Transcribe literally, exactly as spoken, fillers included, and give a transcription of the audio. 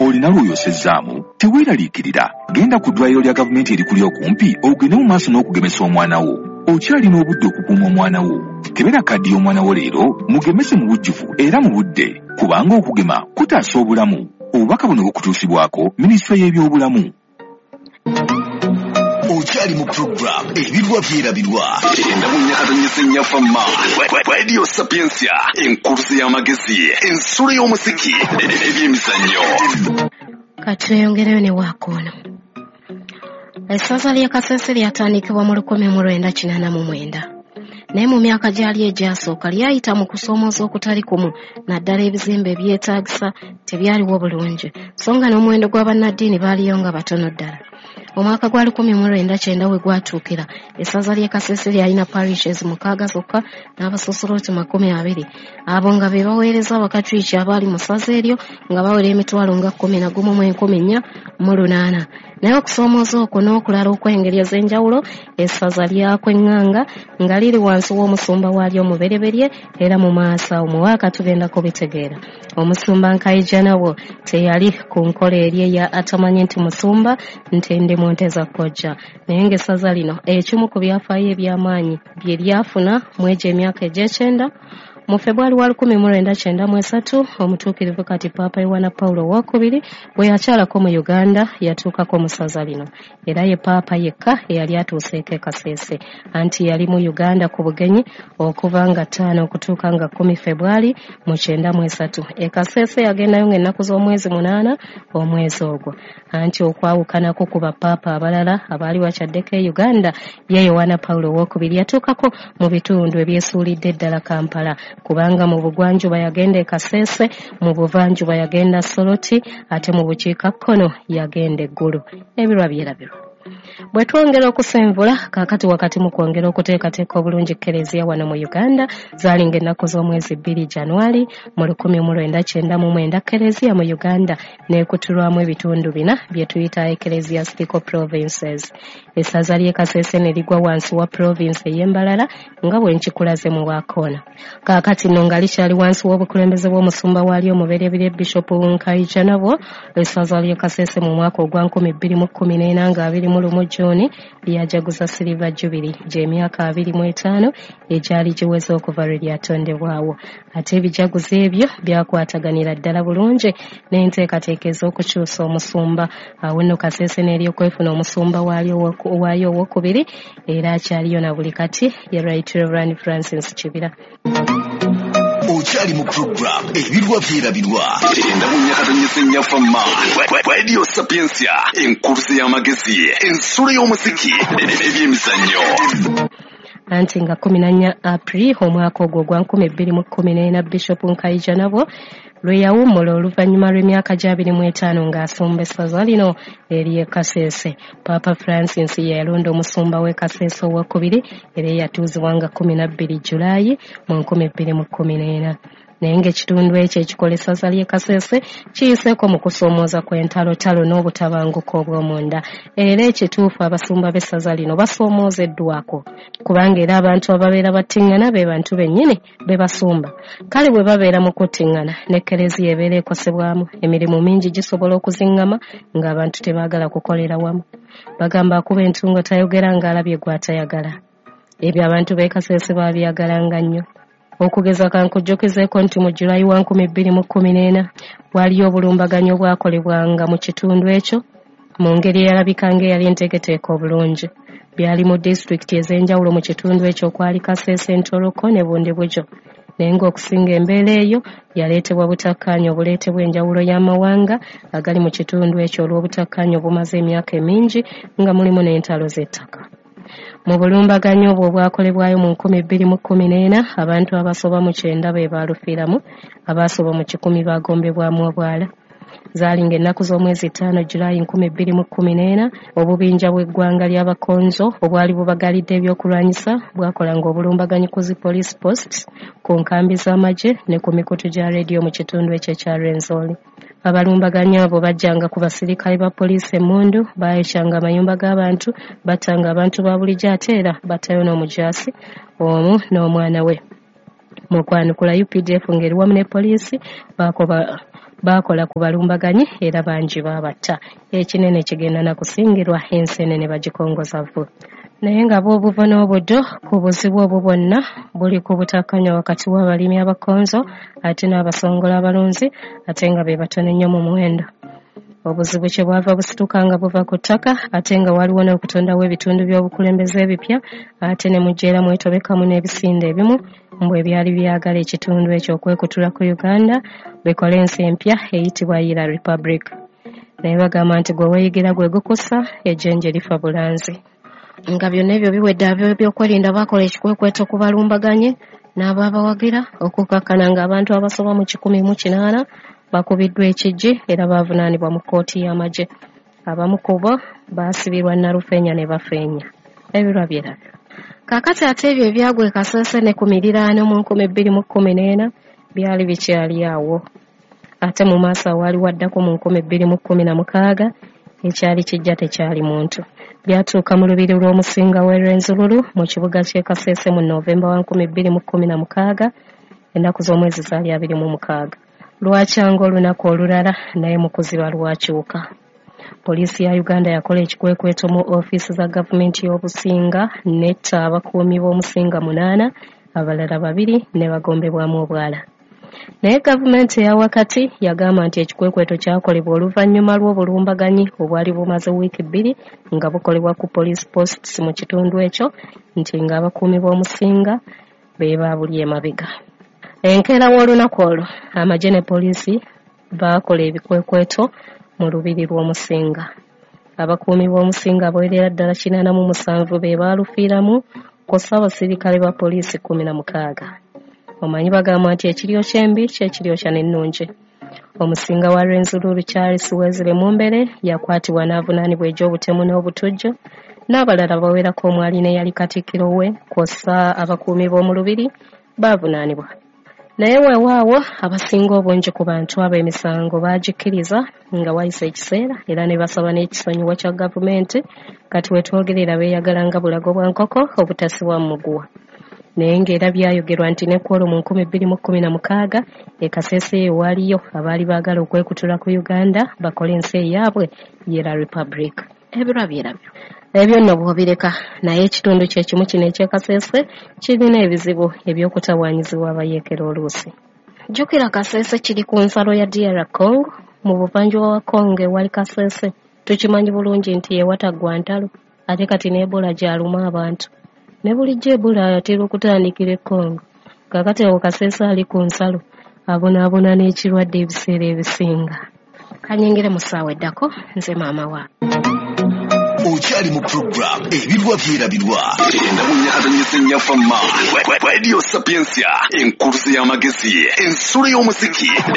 Olina lw'oyosezzaamu? Teweeraliikirira, genda ku ddwaliro lya gavumenti erikuli okumpi ogende mu maaso n'okugemesa omwana wo. Okyalina obudde okukuuma omwana wo. Kebera kaddi y'omwana wo leero, mugemese mu bujjuvu era mu budde, kubanga okugema kutaasa obulamu. Obubaka buno bukutuusibwako minisitule y'ebyobulamu. Okyali mu program Ebirwa Byerabirwa, enda mu nyakatonyesa ennyafamma Radio Sapientia, enkuluze y'amagezi, ensulo y'omuziki, ebyemizannyo. Katweyongereyo ne waakoono. Essaza ly'e Kasese lyatandikibwa mu lukumi mu lwenda kinaana mu mwenda, naye mu myaka gyalyo egyasooka lyayita mu kusoomooza okutali kumu, naddala ebizimbe ebyetaagisa tebyaliwo bulungi, so nga n'omuwendo gw'abannaddiini baaliyo nga batono ddala. Omwaka gwa lukumi mu lwenda kyenda we gwatuukira, essaza ly'e Kasese lyalina parishes mukaaga zokka n'abasosoloti makumi abiri, abo nga be baweereza Abakatuliki abaali mu ssaza eryo nga bawera emitwalo nga kkumi na gumu mu enkumi nnya mu lunaana. Naye okusoomooza okwo n'okulala okw'engeri ez'enjawulo, essaza lyakweŋŋanga nga liri wansi w'omusumba waalyo omubereberye, era mu maaso awo muwaaka tugenda kubitegeera. Omusumba Nkayijanabo teyali ku nkola eri eya atamanyi nti musumba nti ndi mu nte za kojja, naye ng'essaza lino ekimu ku byafaayo eby'amaanyi bye lyafuna mu egyo emyaka egy'ekyenda. Mu Febwali wa lukumi mu lwenda kyenda mu esatu, omutuukirivu kati Paapa Yowana Pawulo Owookubiri bwe yakyalako mu Uganda, yatuukako mu ssaza lino, era ye Paapa yekka eyali atuuseeko e Kasese. Anti yali mu Uganda ku bugenyi okuva nga ttaano okutuuka nga kkumi Febwali mu kyenda mu esatu. E Kasese yagendayo ng'ennaku z'omwezi munaana omwezi ogwo. Anti okwawukanako ku bapaapa abalala abaali bakyaddeko e Uganda, ye Yowana Pawulo Owookubiri yatuukako mu bitundu ebyesuulidde ddala Kampala, kubanga mu bugwanjuba yagenda e Kasese, mu buvanjuba yagenda Soroti, ate mu bukiikakkono yagenda e Ggulu. Ebirwa byerabirwa. Bwe twongera okusenvula kaakati wakati mu kwongera okuteekateeka obulungi Kereziya wano mu Uganda, zaalinga ennaku z'omwezi bbiri Januari mu lukumi mu lwenda kyenda mu mwenda, Kereziya mu Uganda n'ekutulwamu ebitundu bina bye tuyita ecclesiastical provinces. Essaza ly'e Kasese ne ligwa wansi wa province ey'e Mbarara nga bwe nkikulaze mu wakoona. Kaakati nno nga likyali wansi w'obukulembeze bw'omusumba waalyo omubereberye Bishop Nkayijanabo, essaza ly'e Kasese mu mwaka ogwa nkumi bbiri mu kkumi n'ena nga abiri mu lumu June lyajaguza Silver Jubilee gy'emyaka abiri mu etaano egyali giweze okuva lwe lyatondebwawo. Ate ebijaguzo ebyo byakwataganira ddala bulungi n'enteekateeka ez'okukyusa omusumba. Awo nno Kasese n'eryokwefuna omusumba waalyo waayo owookubiri, era akyaliyo na buli kati, ye Right Reverend Francis Kibira. Okyali mu program Ebirwa Byerabirwa, enda mu nyakatonyesa ennyafamma Radio Sapientia, enkuluze y'amagezi, ensulo y'omuziki, ebyemizannyo. Anti nga kkumi na nnya April omwaka ogwo ogwa nkumi bbiri mu kkumi n'ena, Bishop Nkayijanabo lwe yawummula oluvannyuma lw'emyaka gy'abiri mu etaano ng'asumba essaza lino ery'e Kasese. Paapa Francis ye yalonda omusumba w'e Kasese owookubiri, era eyatuuzibwa nga kkumi na bbiri Julaayi mu nkumi bbiri mu kkumi n'ena. Naye ng'ekitundu ekyo ekikola essaza ly'e Kasese kiyiseeko mu kusoomooza kw'entalotalo n'obutabanguko obw'omunda, era ekituufu abasumba b'essaza lino basoomoozeddwako, kubanga era abantu ababeera battiŋŋana be bantu bennyini be basumba. Kale bwe babeera mu kuttiŋŋana, ne Kereziya ebeera ekosebwamu, emirimu mingi gisobola okuziŋŋama ng'abantu tebaagala kukolera wamu. Bagamba akuba entungo tayogera ng'alabye gw'atayagala. Ebyo abantu b'e Kasese baabyagalanga nnyo. Okugeza kankujjukizeeko nti mu Julayi wa nkumi bbiri mu kkumi n'ena waliyo obulumbaganyi obwakolebwanga mu kitundu ekyo mu ngeri eyalabika ng'eyali enteeketeeke obulungi. Byali mu disitulikiti ez'enjawulo mu kitundu ekyo okwali Kasese, Ntoroko ne Bundibugyo, naye ng'okusinga embeera eyo yaleetebwa butakkaanya obuleetebwa enjawulo y'amawanga agali mu kitundu ekyo olw'obutakkaanya obumaze emyaka emingi nga mulimu n'entalo z'ettaka. Mu bulumbaganyi obwo obwakolebwayo mu nkumi bbiri mu kkumi n'ena, abantu abasoba mu kyenda be baalufiiramu, abaasoba mu kikumi baagombebwamu obwala. Zaalinga ennaku z'omwezi ttaano Julaayi nkumi bbiri mu kkumi n'ena, obubinja bw'eggwanga ly'Abakonzo obwali bubagalidde ebyokulwanyisa bwakolanga obulumbaganyi ku zi police posts, ku nkambi z'amagye ne ku mikutu gya rediyo mu kitundu ekyo ekya Rwenzori. Abalumbaganyi abo bajjanga ku basirikale ba poliisi emmundu, baayokyanga amayumba g'abantu, battanga abantu ba bulijjo, ate era battayo n'omujaasi omu n'omwana we. Mu kwanukula U P D F ng'eri wamu ne poliisi baakoba Baakola ku balumbaganyi era bangi baabatta. Ekinene kigenda na kusingirwa, ensenene bagikongoza vvu. Naye nga bw'obuva n'obuddo ku buzibu obwo bwonna buli ku butakkanya wakati w'abalimi abakonzo ate n'abasongola abalunzi, ate nga be batono ennyo mu muwendo. Obuzibu kye bwava busituka nga buva ku ttaka, ate nga waliwo n'okutondawo ebitundu by'obukulembeze ebipya, ate ne mujja era mwetobekamu n'ebisinde ebimu mbu ebyali byagala ekitundu ekyo okwekutula ku Uganda bikole ensi empya eyitibwa Yira Republic. Naye bagamba nti gwe weeyigira gwe gukusa, ejjenje lifa bulanzi. Nga byonna ebyo biwedde, ab'ebyokwerinda baakola ekikwekweto ku balumbaganyi n'abaabawagira okukakkana ng'abantu abasoba mu kikumi mu kinaana bakubiddwa ekijji era baavunaanibwa mu kkooti y'amagye. Abamu ku bo baasibirwa Nalufeenya ne bafeenya. Ebirwa byerabyo. Kaakati ate ebyo ebyagwa e Kasese ne ku miriraano mu nkumi bbiri mu kkumi n'ena byali bikyali awo. Ate mu maaso awaali waddako mu nkumi bbiri mu kkumi na mukaaga ekyali kijja tekyali muntu. Byatuuka mu lubiri lw'omusinga w'e Rwenzururu mu kibuga ky'e Kasese mu Novemba wa nkumi bbiri mu kkumi na mukaaga, ennaku z'omwezi zaali abiri mu mukaaga. Lwakyanga olunaku olulala naye mu kuziba lwakyuka. Poliisi ya Uganda yakola ekikwekweto mu ofiisi za gavumenti y'obusinga n'etta abakuumi b'omusinga munaana, abalala babiri ne bagombebwamu obwala. Naye gavumenti eya wakati yagamba nti ekikwekweto kyakolebwa oluvannyuma lw'obulumbaganyi obwali bumaze wiiki bbiri nga bukolebwa ku police posts mu kitundu ekyo, nti ng'abakuumi b'omusinga be baabuli emabega. Enkeera w'olunaku olwo amagye ne poliisi baakola ebikwekweto mu lubiri lw'omusinga. Abakuumi b'omusinga abawerera ddala kinaana mu musanvu be baalufiiramu kw'ossa abasirikale ba poliisi kkumi na mukaaga. Omanyi bagamba nti ekiryo ky'embi ky'ekiryo kya n'ennungi. Omusinga wa Rwenzururu Charles Wesley Mumbere yakwatibwa n'avunaanibwa egy'obutemu n'obutujju, n'abalala bawerako omwali n'eyali katikkiro we kw'ossa abakuumi b'omu lubiri baavunaanibwa. Naye weewaawo abasinga obungi ku bantu abo emisango baagikkiriza nga wayise ekiseera era ne basaba n'ekisonyiwo kya gavumenti. Kati we twogerera beeyagala nga bulago bwa nkoko obutasibwa mu muguwa. Naye ng'era byayogerwa nti ne ku olwo mu nkumi bbiri mu kkumi na mukaaga e Kasese eyo waaliyo abaali baagala okwekutula ku Uganda bakole ensi eyaabwe Yera Republic. Ebirwa byerabyo. Ebyo nno bw'obireka, naye ekitundu kye kimu kino eky'e Kasese kirina ebizibu eby'okutawaanyizibwa abayeekera oluusi. Jjukira Kasese kiri ku nsalo ya D R Congo, mu buvanjuba wa Congo ewali Kasese. Tukimanyi bulungi nti yewataggwa ntalo, ate kati ne Ebola gy'aluma abantu. Ne bulijjo Ebola atera okutandikira e Congo. Kaakati awo Kasese ali ku nsalo, abonaabona n'ekirwadde ebiseera ebisinga. Kanyingire mu ssaawa eddako, nze maama wa. Okyali mu program Ebirwa Byerabirwa. Endabunnya Nnyafamma. Radio Sapientia, enkuluze y'amagezi, ensulo y'omuziki.